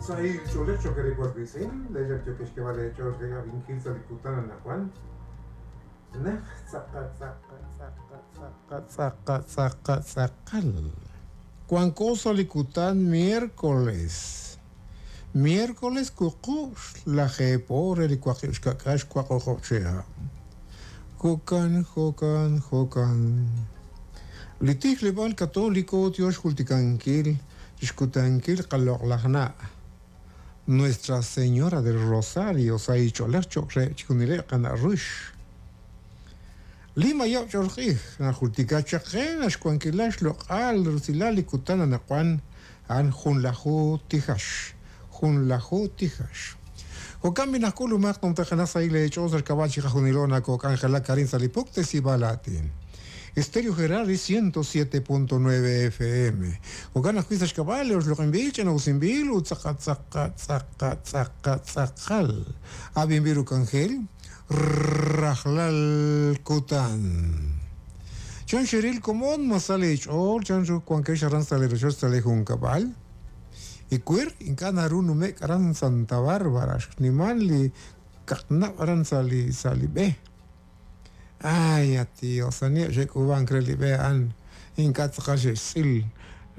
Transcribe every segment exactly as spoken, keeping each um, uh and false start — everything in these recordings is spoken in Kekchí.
Sahil ch'oolej cho'q re wiitz'in, leexak yo'k xk'eeb'al eech'ool re rab'inkil sa' li kutan anaqwan. Naj tz'aqa tz'aqa tz'aqa tz'aqa tz'aqa tz'aqa tz'aqal. Wanko sa' li kutan miércoles. Miércoles wuqub' lajeeb' re li waqib' xka'k'aal xwaq o'q'ob' chihab'. Jo'kan, jo'kan, jo'kan. Li tijleb'aal katoliko tyo xjultikankil xkutankil qaloq'laj na'. Nuestra Señora del Rosario sa' ich'oolej cho'q re chixjunileb' qana' rux. Lima yob' ch'ool q'ij najultika chaq qe naxwankilal xloq'al rusilal li kutan anaqwan a'an junlaju tijax, junlaju tijax. Jo'kan b'i najk'ulumaq numtajenaq sa' ileech'ool sa' xk'ab'a' chiqajunilo nakok'anjelak arin sa' li puktesib'aal aatin. Estéreo Gerardi ciento siete punto nueve F M. Jo'kan ajwi' sa' xk'ab'a' li oxloq'inb'il, ch'ina'usinb'il ut tz'aqa tz'aqa tz'aqa tz'aqa tz'aqal. Ab'inb'il uk'anjel rajlal kutan. Chan xeril komon masal eech'ool, chan ru wankex aran sa' li rochoch sa' li junkab'al. Ikwir ink'a' naru numek aran Santa Bárbara, xnimal li kaqnab' aran sa' li sa' li b'e. Ay, tío, sani xek'uub'ank re li b'e a'an ink'a' tz'aqal xe'xtz'il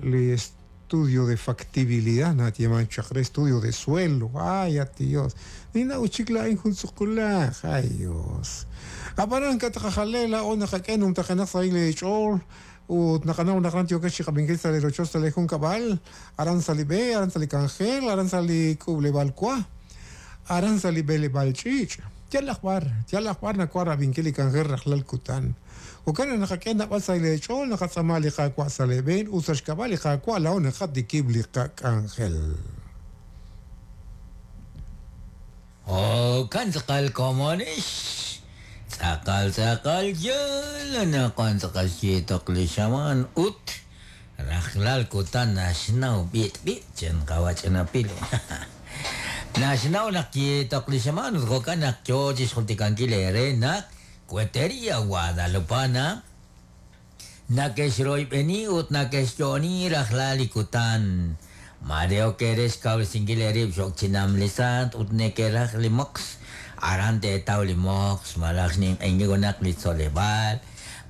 li estudio de factibilidad natieman chaq re estudio de suelo. Ay, Dios. Nina uchik laa'in jun tz'uqulaj. Ay, Dios. Ab'anan kataqajalej laa'o naqak'e numtajenaq sa' leech'ool ut naqanaw naq ran yo'kex chiqab'inkil sa' li rochoch sa' li junkab'al, aran sa' li b'e, aran sa' li k'anjel, aran sa' li k'uub'leb'aal wa, aran sa' li b'eleb'aal ch'iich'. Yalaq b'ar, yalaq b'ar nawa rab'inkil li k'anjel rajlal kutan. Jo'kan naq naqak'e nab'al sa' leech'ool, naqatz'ama li Qaawa' sa' leeb'een ut sa' xk'ab'a' li Qaawa' laa'o naqatikib' li qak'anjel. Jo'kan tz'aqal komonix. Tz'aqal tz'aqal yal naqan tz'aqal xyeetoq li xamaan ut rajlal kutan naxnaw b'it b'it chen qawach'inapil. Naxnaw naq yeetoq li xamaan ut jo'kan naq yo chixjultikankil eere naq Cuetería Guadalupana nakexroyb'eni ut nakexyo'oni rajlal li kutan. Mareo kerex kawresinkil eerib' xok chinam li sant ut nekeraj li moqs. Aran teetaw li moqs, malaj xninq'enki junaq li tzoleb'aal,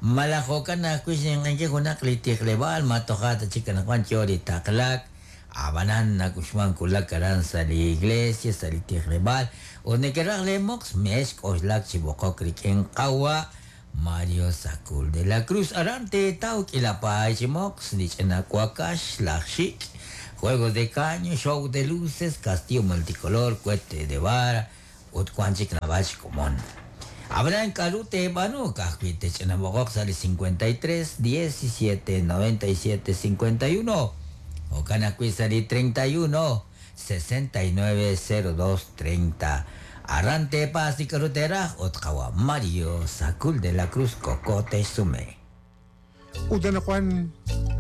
malaj jo'kan ajwi' xninq'enki junaq li tijleb'aal, ma toja' ta chik anaqwan yo li taqlak. Ab'anan nak'uxman kulak aran sa' li iglesia, sa' li tijleb'aal, ut nekeraj le moqs mex k'oxlak chi b'oqok rik'in qawa' Mario Sacul de la Cruz. Aran teetaw k'ilapaay chi moqs, li ch'ina wakax, laj xik', juegos de caño, show de luces, castillo multicolor, cohete de vara, ut wan chik nab'al xkomon. Ab'anan k'aru teeb'aanu ka'ajwi' tech'ina b'oqoq sa' li cincuenta y tres, diecisiete, noventa y siete, cincuenta y uno. Jo'kan ajwi' sa' li treinta y uno, sesenta y nueve, cero dos, treinta. Aran teepaas li k'aru teeraj ut qawa' Mario Sacul de la Cruz Cocote Sume. Ut anaqwan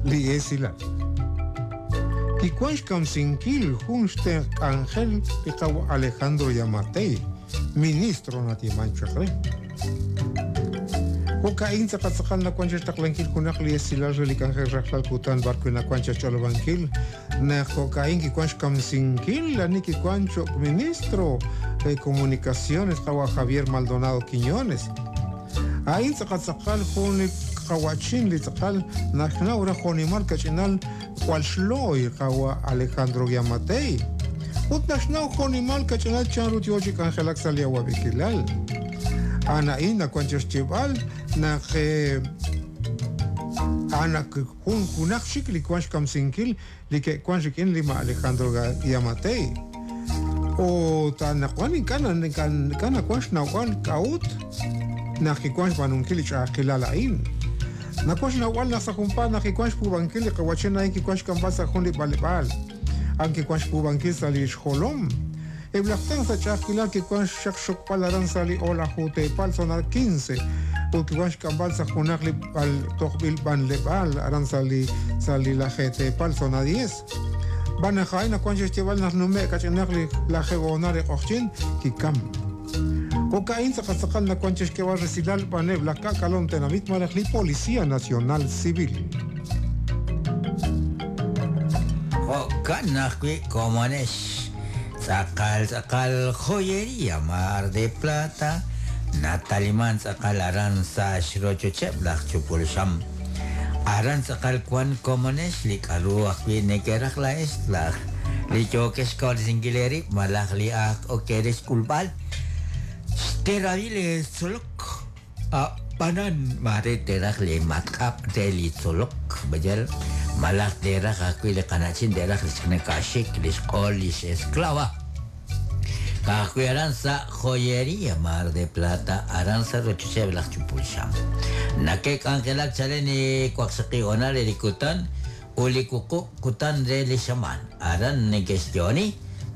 li esilal. Kiwan xkamsinkil jun xtenq k'anjel li qawa' Alejandro Giammattei, ministro natieman chaq re. Jo'ka'in tz'aqal nawan chixtaqlankil junaq li esilal re li k'anjel rajlal kutan b'arwi' nawan chixch'olob'ankil naq jo'ka'in kiwan xkamsinkil ani kiwan cho'q ministro de Comunicaciones qawa' Javier Maldonado Quiñones. A'in tz'aqal tz'aqal jun li qawachin li tz'aqal naxnaw ra jonimal kach'inal jwal xlooy qawa' Alejandro Giammattei. Ut naxnaw jonimal kach'inal chanru yo chi k'anjelak sa' li awab'ejilal. A'an nawan chixchib'al naq a'an jun junaq chik li wan xkamsinkil li ke'wan rik'in li ma Alejandro Giammattei. Ut anaqwan ink'a' ink'a' nawan xnawb'al k'a'ut naq kiwan xb'aanunkil li ch'a'ajkilal a'in. Nawan xnawb'al naq sa' junpaat naq kiwan xpuub'ankil li qawachin a'in kiwan xk'amb'al sa' jun li b'aleb'aal. A'an kiwan xpuub'ankil sa' li xjolom. Eb' laj tenq sa' ch'a'ajkilal kiwan xaq xokb'al aran sa' li o'laju teepal zona quince ut kiwan xk'amb'al sa' junaq li b'al tojb'il b'anleb'aal aran sa' li sa' li laje teepal zona diez. B'anajay nawan xe'xyeb'al naq nume' kach'inaq li laje o'na li q'oqchin kikam. Jo'ka'in tz'aqal tz'aqal nawan chixk'eb'al resilal b'aneb' laj k'ak'alom tenamit malaj li Policía Nacional Civil. Jo'kan ajwi' komonex. Tz'aqal tz'aqal joyería Mar de Plata nataliman tz'aqal aran sa xrochocheb' laj chupul xam. Aran tz'aqal wan komonex li k'aru ajwi' nekeraj la'ex laj li yookex kawresinkil eerib' malaj li aj okerex k'ulb'al xteravil tzolok a'b'anan mare teraj li matq'ab' re li tzolok bayal malaj teraj ajwi' li qana'chin teraj li xnekaxik li xq'ol li xesklava ka'ajwi' aran sa joyería Mar de Plata aran sa rochocheb' laj chupul xam nakek'anjelak chalen waqxaqib' honal li kutan uli wuqub' kutan re li xamaan aran nekexyooni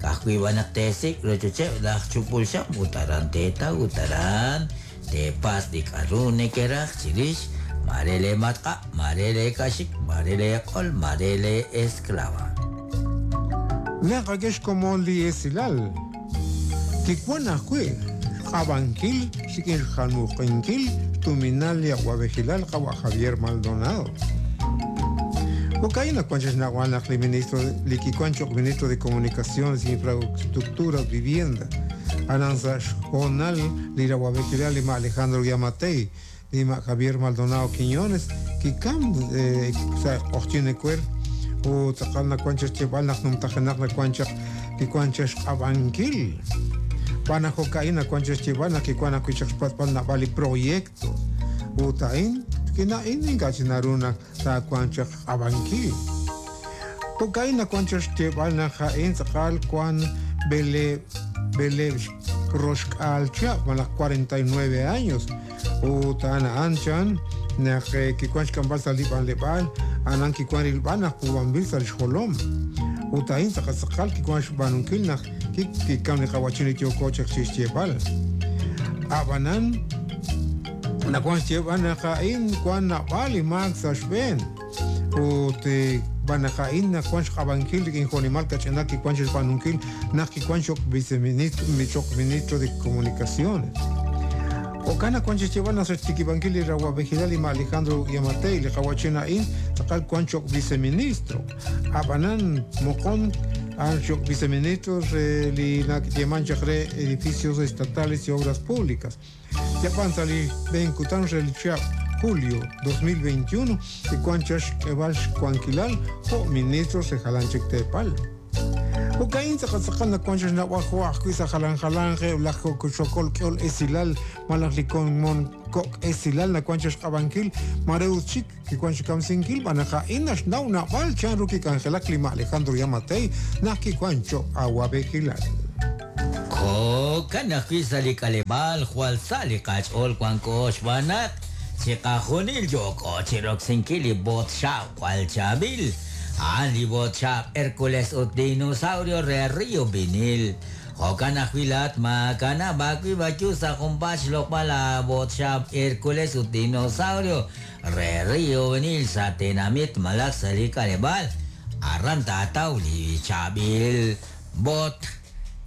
ka'ajwi' b'anaq teesik' rochocheb' laj chupul xam ut aran teetaw ut aran teepas li k'aru nekeraj chirix mare le matq'a' mare le kaxik mare le q'ol mare le esclava. Naqakex komon li esilal kikwan ajwi' xq'ab'ankil rik'in xjalmuq'inkil xtuminal li awab'ejilal qawa' Javier Maldonado. Jo'ka'in nakuan xnawal naq li ministro li kikuan choq ministro de Comunicaciones, Infraestructuras, Vivienda aran sa xjonal li rawab'ejilal lima Alejandro Giammattei lima Javier Maldonado Quiñones kikam eh, sa q'ojchin ecuer u tz'aqal nakuan xcheb'al naq numtajenaq nakuan chaq kikuan xq'ab'ankil Pana jo'ka'in nakuan xcheb'al naq kikuan ajwi' chaq xpatb'al nab'al li proyecto ut a'in kina'in ink'a' chi naru naq taakuan chaq xq'ab'ankil jo'ka'in nakuan chaq xcheb'al naq a'in tz'aqal kuan bele bele roxk'al chihab' malaj cuarenta y nueve años ut a'an a'an chan naq kikuan xk'amb'al sa' li b'anleb'aal anan kikuan rilb'al naq puub'anb'il sa' li xjolom ut a'in tz'aqal tz'aqal kikuan xb'aanunkil naq kikam li qawachin li yooko chaq chixyeeb'al a'b'anan nakuan xyeeb'al naq a'in kuan nab'al li maak sa' xb'een ut b'anaq a'in nakuan xq'ab'ankil rik'in jonimal kach'inal kikuan xb'aanunkil naq kikuan xoq viceministro xoq ministro de Comunicaciones. Jo'kan nakuan xyeeb'al naq sa' xtikib'ankil li rawab'ejilal lima Alejandro Giammattei li qawachin a'in tz'aqal kuan xoq viceministro a'b'anan moqon an xoq viceministro re li nakyeman chaq re edificios estatales y obras públicas. Yapan sa' li b'een kutan re li chihab' julio dos mil veintiuno kikuan chaq xk'eb'al xkuankilal jo' ministro re jalan chik teepal. Jo'ka'in tz'aqal tz'aqal nakuan chaq xnawb'al jo' ajwi' sa' jalan jalan re laj xokol k'ol esilal malaj li komon kok' esilal nakuan chaq xq'ab'ankil mare ut chik kikuan xkamsinkil b'anaq a'in naxnaw nab'al chan ru kik'anjelak lima Alejandro Giammattei naq kikuan choq awab'ejilal. Jo'kan ajwi' sa' li k'aleb'aal jwal sa' li qach'ool wanko xb'aan chiqajunil yooko chiroksinkil li botxab' jwal chaab'il a'an li botxab' Hércules ut dinosaurio re Río Vinil. Jo'kan ajwi' laat maakanab' ajwi' b'ayu sa' junpaat xloq'b'al la botxab' Hércules ut dinosaurio re Río Vinil sa' tenamit malaj sa' li k'aleb'aal aran taataw li chaab'il bot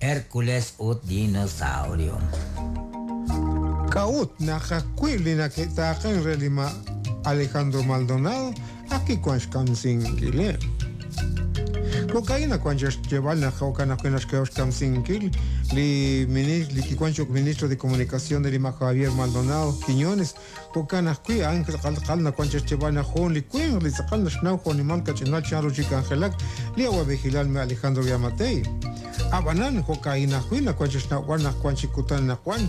Hércules ut dinosaurio. K'a'ut naq ajwi' li nake'taaqen re lima Alejandro Maldonado akikuan xkamsinkileb'. Jo'ka'in nakuan xyeeb'al naq jo'kan ajwi' naxk'eheb' xkamsinkil li li kikuan xoq ministro de Comunicación de lima Javier Maldonado Quiñones jo'kan ajwi' a'an tz'aqal tz'aqal nakuan xyeeb'al naq jun li winq li tz'aqal naxnaw jonimal kach'inal chan ru chik'anjelak li awab'ejilal me Alejandro Giammattei. A'b'anan jo'ka'in ajwi' nakuan xnawb'al naq kuan chik kutan naq wan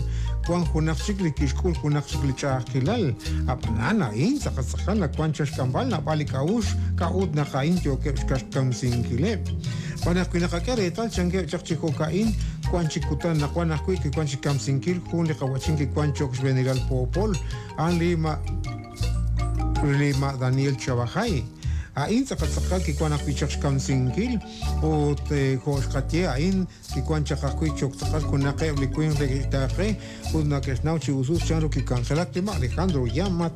kuan junaq chik li kixk'ul junaq chik li ch'a'ajkilal a'b'anan a'in tz'aqal tz'aqal nakuan xk'amb'al nab'al li k'a'ux k'a'ut naq a'in yookeb' xkamsinkileb'. B'anaq wi naqak'e reetal chankeb' chaq chi jo'ka'in kuan chik kutan naq wan ajwi' kikuan xkamsinkil jun li qawachin kikuan choq xb'eenilal poopol a'an lima lima Daniel Chavajay. A'in tz'aqal tz'aqal kikuan ajwi' chaq xkamsinkil ut jo' xqatye a'in kikuan chaq ajwi' choq tz'aqal junaqeb' li winq li kixtaaqe ut nake'xnaw chi usus chan ru kik'anjelak lima Alejandro Giammattei.